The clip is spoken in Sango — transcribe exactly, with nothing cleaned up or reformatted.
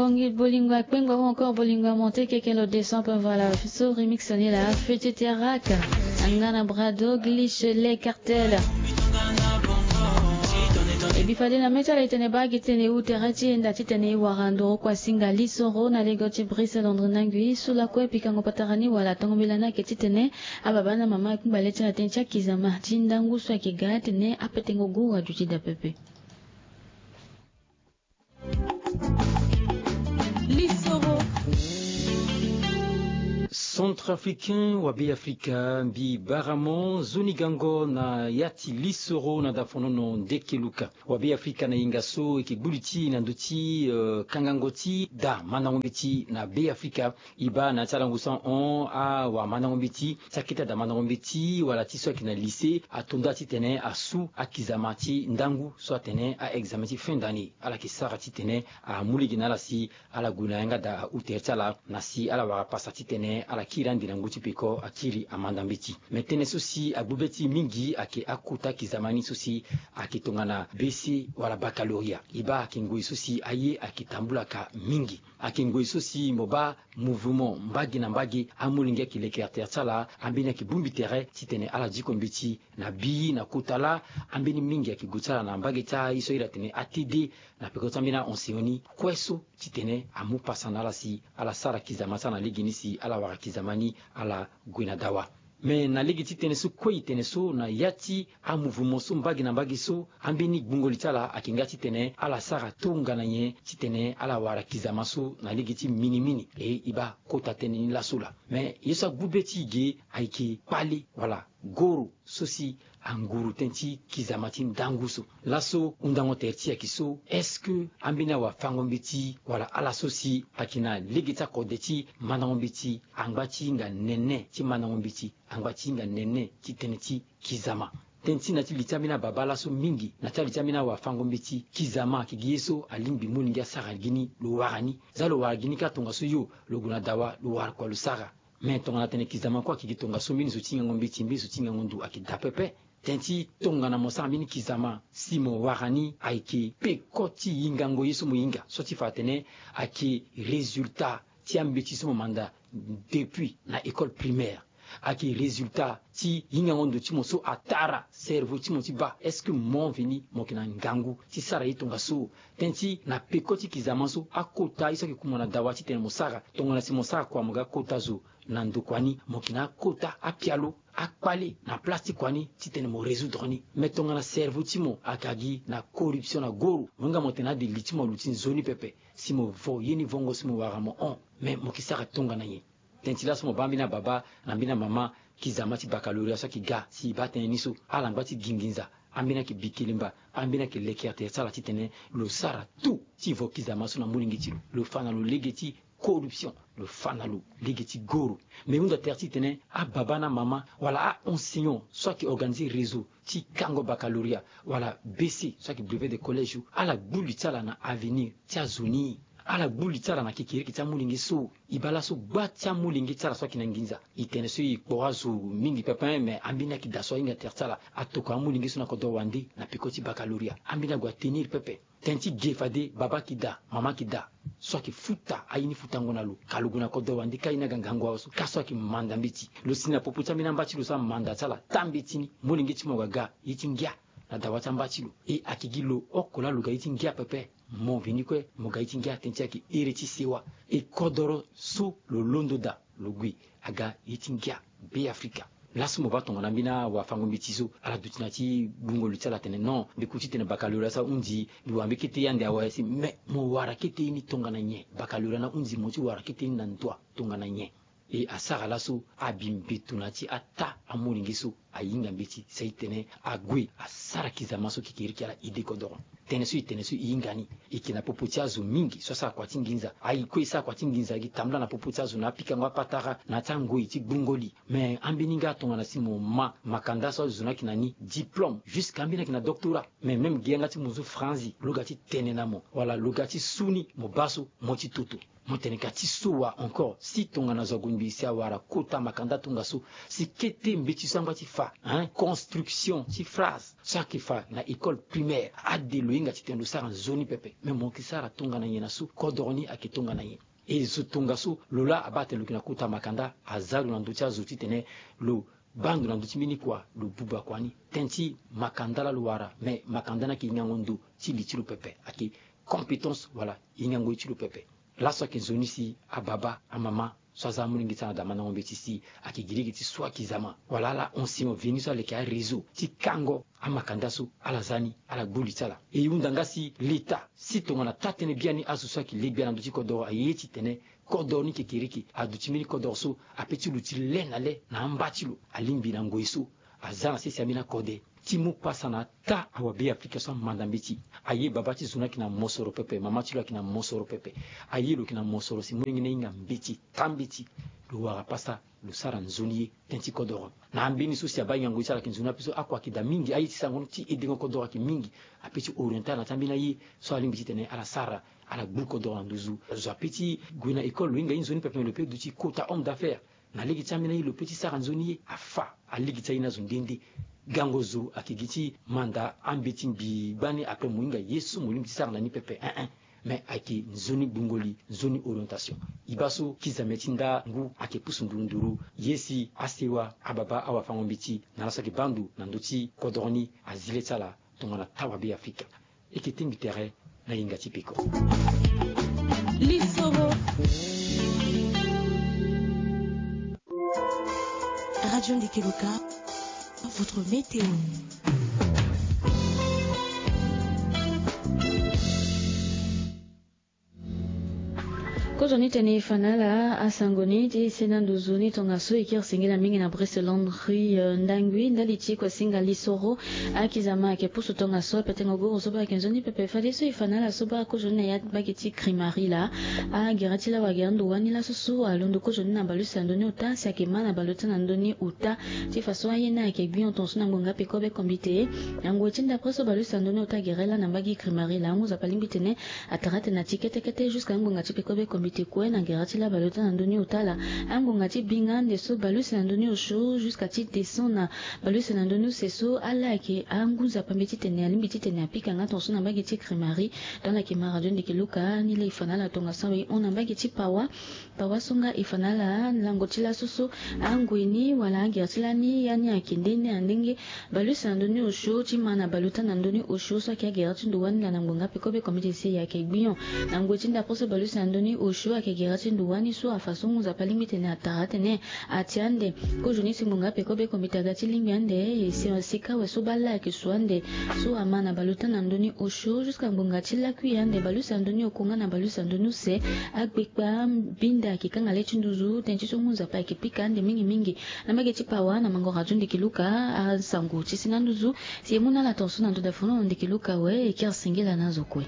Ngi bolingo akpengba ou encore bolingo amonte keke lo descend pe voilà. So remix ni la fete teraka. Angana brado glitch les cartels. E bi fade na mê ti ala e tene baa gi tene e hu tere ti e nda titene e wara nduru kue asinga lisoro na lego ti Brice Londre Nangui so lakue pikango patara ni wala tongo mbela ni ayeke titene ababa na mama akungba le ti ala tënë ti akizama ti ndangu so ayeke ga atene apetengo guru aduti daa pepe. Lisoro. Centrafricain wa Beafrika mbi bara mo nzoni gango na ya ti lisoro na dafonono ndeke luka. Wa Beafrika na yenga so e yeke gbu li ti e na ndö ti, eh, kangango ti da mandango mbeti na Beafrika. E baa na ya ti ala ngu so ahon awamandango mbeti ti akete ada mandango mbeti wala ti so ayeke na lycée ato nda titene asu akizama ti ndangu so atene a-examen ti fin d'année. Ala yeke sara titene amu lege na ala si ala gue na yanga da ahu tere ti ala na si ala wara pasa titene ala kiri ande na ngu ti peko akiri amanda mbeti. Me tënë so si agbu be ti e mingi ayeke akota kizama ni so si ayeke tongana B C wala baccalauréat. E baa ayeke ngoi so si aye ayeke tambula ka mingi. Ayeke ngoi so si mo baa mouvement mbage na mbage amolenge ayeke leke na tere ti ala, ambeni ayeke bongbi tere titene ala diko mbeti na bi na kota laa. Ambeni mingi ayeke gue ti ala na mbage ti aye so airi atene A T D na peko ti ambeni a-enseignant ni kue so titene amu pasa na ala si ala sara kizama ti ala na legeni si ala wara kizama ni ala gue na dawa. Me na lege ti tënë so kue e tene so na ya ti amouvement so mbage na mbage so, ambeni gbungo li ti ala ayeke nga titene ala sara tongana nyen titene ala wara kizama so na lege ti minimini. E e baa kota tënë ni laso laa. Me ye so agbu be ti e ge ayeke kpale wala goro so si anguru tënë ti kizama ti ndangu so. Laso hundango tere ti e ayeke so, est-ce que ambeni awafango mbeti wala ala so si ayeke na lege ti akode ti mandango mbeti angba ti hinga nene ti mandango mbeti, angba ti hinga nene ti tënë ti kizama? Tënë ti na ti li ti ambeni ababa laso mingi na ti ali ti ambeni awafango mbeti, kizama ayeke gi ye so alingbi molenge asara gi ni lo wara ni. Za lo wara gi ni kâ tongaso yo lo gue na dawa lo wara kua lo sara. Me tongana tene kizama kue ayeke gi tongaso mbeni zo ti hingango mbeti mbeni zo ti hingango ndo ayeke daa pepe. Tënë ti tongana mo sara mbeni kizama si mo wara ni ayeke peko ti hingango ye so mo hinga so ti fa atene ayeke résultat ti ambeti so mo manda depuis na école primaire. Ayeke résultat ti hingango ndo ti mo so atara cerveau ti mo ti baa. Est-ce que mo veni mo yeke na ngangu ti sara ye tongaso? Tënë ti na peko ti kizama so akota ye so ayeke ku mo na dawa titene mo sara tongana si mo sara kua mo ga kota zo na ndokua ni mo yeke na akota apialo akpale na place ti kua ni titene mo résoudre ni. Me tongana cerveau ti mo ayeke gi na corruption na goro, mo hinga mo tene ade li ti mo aluti nzoni pepe si mo vo ye ni vongo si mo wara mo hon. Me mo yeke sara tongana nyen? Tënë ti laso mo baa mbeni ababa na mbeni amama, kizama ti baccalauréat so ayeke ga si e baa tënë ni so ala ngba ti gi nginza, ambeni ayeke bikelemba, ambeni ayeke leke tere ti ala titene lo sara tout ti vo kizama so na molenge ti lo, lo fa na lo lege ti corruption, lo fa na lo lege ti goro. Me hunda tere titene ababa na amama wala a-enseignant so ayeke organiser réseau ti kango baccalauréat wala B C so ayeke brevet de collège, ala gbu li ti ala na avenir ti azo ni. Ala gbu li ti ala na kekereke ti amolenge so. E baa laso gba ti amolenge ti ala so ayeke na nginza. E tene so e kporo azo mingi pepe, me ambeni ayeke daa so ahinga tere ti ala atokua amolenge so na kodro wande na peko ti baccalauréat. Ambeni ague atenir pepe. Tënë ti ge fade baba ayeke daa, mama ayeke daa so ayeke futa aye ni futango na lo ka lo gue na kodro wande ka ye ni aga ngangu awe so ka so ayeke manda mbeti. Lo si na popo ti ambeni amba ti lo so amanda ti ala taa mbeti ni, molenge ti mo aga ga ye ti ngia na dawa ti amba ti lo. E ayeke gi lo oko laa lo ga ye ti ngia pepe. Mo veni kue mo ga ye ti ngia, tënë ti e ayeke here ti sewa. E kodoro so lo londo daa lo gue aga ye ti ngia Beafrika. Laso mo baa tongana mbeni awafango mbeti so ala duti na ti gbungo lo ti ala atene non, mbi ku titene baccalauréat so ahunzi, mbi wara mbi kete ye ande awe si. Me mo wara kete ye ni tongana nyen? Baccalauréat ni ahunzi mo ti wara kete ye ni na ndo tongana nyen? E asara laso abi mbeto na ya ti ataa amolenge so ahinga mbeti si aye titene ague asara kizama so kekereke ala ide kodoro. Tënë so e tene so e hinga ni e yeke na popo ti azo mingi so asara kua ti nginza. Aye kue e sara kua ti nginza e gi tambula na popo ti azo na apikango apatara na ya ti angoi ti gbungo li. Me ambeni nga tongana si mo ma makanda so azo ni ayeke na ni diplôme jusqu'à ambeni ayeke na doctorat. Me même gi yanga ti mo zo franzi lo ga ti tene na mo wala lo ga ti su ni mo baa so mo ti toto. Mo tene ka ti so wa encore si tongana zo ague ngbii si awara kota makanda tongaso si kete mbeti so angba ti fa hein, construction ti phrase so ayeke fa na école primaire. Ade lo hinga titene lo sara nzoni pepe, me mo yeke sara tongana nyen na so kodoro ni ayeke tongana nyen? E zo tongaso lo laa abaa tene lo yeke na kota makanda, aza lo na ndö ti azo titene lo baa ndo na ndö ti mbeni kua, lo buba kua ni. Tënë ti makanda laa lo wara, me makanda ni ayeke hingango ndo ti li ti lo pepe, ayeke compétence wala hingango ye ti lo pepe. Laso ayeke nzoni si ababa, amama so aza amolenge ti ala na damandango mbeti si ayeke gi lege ti swa kizama wala ala enseignant veni so ala yeke aréseau ti kango amakanda so ala za ni, ala gbu li ti ala. E hunda nga si leta si tongana taa-tënë biani azo so ayeke le gbia na ndö ti kodoro aye titene kodoro ni kekereke aduti mbeni kodoro so ape ti luti le na le na amba ti lo, alingbi na ngoi so aza na sese ambeni akode ti mu pasa na taa awabe Afrika so amanda mbeti. Aye baba ti zo ni ayeke na mosoro pepe, mama ti lo ayeke na mosoro pepe. Aye lo yeke na mosoro si molenge ni ahinga mbeti, taa mbeti. Lo wara pasa, lo sara nzoni ye tënë ti kodoro. Na ambeni so si abaa hingango ye ti ala ayeke nzoni ape so akua ayeke daa mingi, aye ti sarango ni ti edengo kodoro ayeke mingi. Ape ti orienter ala na ti ambeni aye so alingbi titene ala sara, ala gbu kodoro na nduzu. Zo ape ti gue na école lo hinga ye nzoni pepe, me lo pe duti kota homme d'affaires. Na lege ti ambeni aye lo pe ti sara nzoni ye, afa alege ti aye ni azo nde nde. Gango zo ayeke gi ti manda ambeti mbi gbani, après mo hinga ye so mo lingbi ti sara na ni pepe, hein, hein. Me ayeke nzoni gbungo li, nzoni orientation. E baa so kizame ti nda ngu ayeke pusu nduru nduru ye si asewa, ababa, awafango mbeti na laso ayeke baa ndo na ndö ti kodoro ni azi le ti ala tongana taa wabe Afrika. E yeke tengbi tere na hinga ti peko. Lisoro. Radio Ndeke Loka, votre météo. Kozoni tene e fa na ala asango ni ti senda nduzu ni tongaso e kiri singila mingi na Brest Landry, eh, ndangui ndali ti kue singa lisoro. Akizama ayeke pusu tongaso, apetengo guru so baa ayeke nzoni pepe. Fadeso e fa na ala so baa kozoni na ya ti mbage ti Krimari laa. Agere ti la wagere ndo wani laso so alondo kozoni na balusa ndoni ota si ayeke ma na baluta na ndoni ota. Ti fa so aye ni ayeke gbi hon tongaso na ngbonga pekobe kombite. Na ngoi ti ndapre so balusa ndoni ota agere laa na mbage Krimari laa, ngu nzapa alingbi tene atara tene na ti kete kete jusqu'à angbonga ti pekobe kombite kue na gere ti la baluta na ndoni ota laa. Angbonga ti binga ande so balusa na ndoni osio jusqu'à ti descend na balusa na ndoni use so ala ayeke angu nzapa mbeti tene alingbi titene apika nga tongaso na mbage ti Krimari. Donc ala yeke ma Radio Ndeke Loka ni laa e fa na ala tongaso awe e hon na mbage ti Pawa. Pawa so nga e fa na ala lango ti laso so angoi ni wala agere ti lani ya ni ayeke nde nde na ndenge. Balusa na ndoni osio ti ma na baluta na ndoni osio so ayeke agere ti ndo wani laa na ngbonga pekobe kombite si e ayeke gbi hon. Na ngoi ti ndapre so balusa na ndoni osio ayeke gere ti ndo wani so afa so ngu nzapa alingbi tene atara tene ati ande. Kozoni si ngbonga pekobe kombite aga ti lingbi ande e si sika awe so baa la ayeke su ande so ama na baluta na ndoni osio jusqu'à ngbonga ti lakui ande balusa na ndoni oko nga na balusa na ndoni use. Agbekpa binda ayeke kanga le ti nduzu tënë ti so ngu nzapa ayeke pika ande mingi mingi. Na mbage ti Pawa na mango Radio Ndeke Loka asango ti senda nduzu. Si e mu na ala tongaso na ndo dafono Ndeke Loka awe e kiri singila na azo kue.